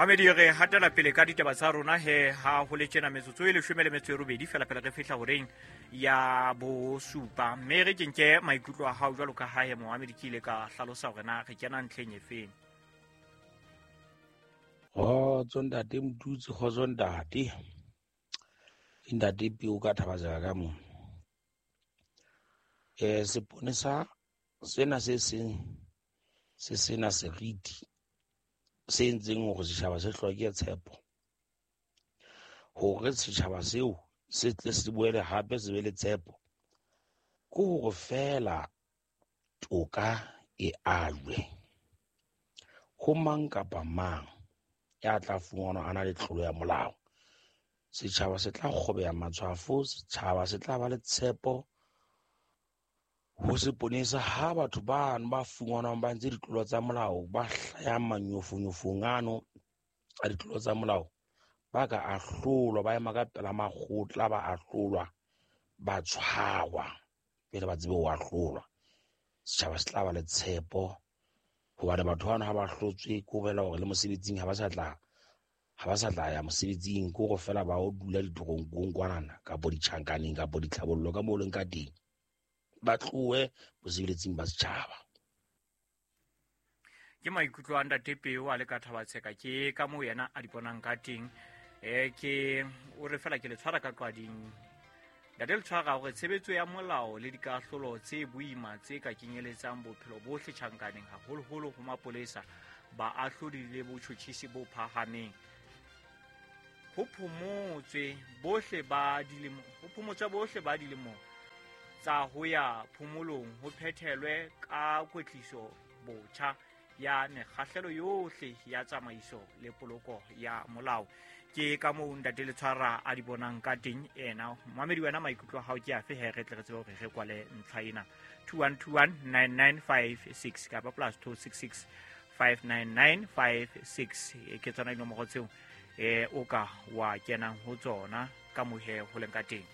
Mamedi, re hatela pele ka ditaba tsa rona he ha ho le tjena metsotso e 18 fela pele re fihla horeng ya bosupa, mme re ke nke maikutlo a hao jwalo ka ha he moamedi ke ile ka hlalosa hore na re kena ntlheng e feng. Kgotso ntate Motutsi, kgotso ntate. Ke ntate Peo ka Thabazela ka mona. Seponesa sena se seng se sena seriti se entseng hore setjhaba se hloke tshepo, hore setjhaba seo se tle se boele hape se be le tshepo, ke hore feela toka e ajwe ho mang kapa mang ya tla fumanwa a na le tlolo ya molao. Setjhaba se tla kgobeha matshwafo, setjhaba se tla ba le tshepo ho seponesa ha batho bano ba fumanwang ba ntse ditlolo tsa molao, ba hlayang manyofonyofong ano a ditlolo tsa molao, ba ka ahlolwa, ba ema ka pela makgotla, ba ahlolwa, ba tshwarwa pele ba tsebe ho ahlolwa. Setjhaba se tla ba le tshepo hobane batho bano ha ba hlotswe ke ho bolela hore le mosebetsing ha ba sa tla ya mosebetsing, ke hore feela ba o dula ditoronkong kwanana kapo ditjhankaneng kapo ditlhabollo ka moo leng ka teng, ba tlohe mosebetsing ba setjhaba. Ke maikutlo a ntate Peo a le ka Thabatsheka, ke ka moo yena a di bonang ka teng. Ke o re fela ke le tshwara ka qwading. Ntate le tshwara hore tshebetso ya molao le dikahlolo tse boima tse ka kenyeletsang bophelo bohle tjhankaneng, haholoholo ho mapolesa, baahlodi le botjhotjhisi bo phahameng. Ho phomotswe bohle ba dilemo, ho phomotswe bohle ba dilemo tsa ho ya phomolong, ho phethelwe ka kwetliso botjha ya mekgahlelo yohle ya tsamaiso le poloko ya molao. Ke ka moo ntate Letshwara a di bonang ka teng ena. Mamedi, wena maikutlo a hao ke afe he re tle re tsebe hore re kwale ntlha ena? 21219956 kapa plus 266 59956, ke tsona dinomoro tseo o ka wa kenang ho tsona ka mohe ho leng ka teng.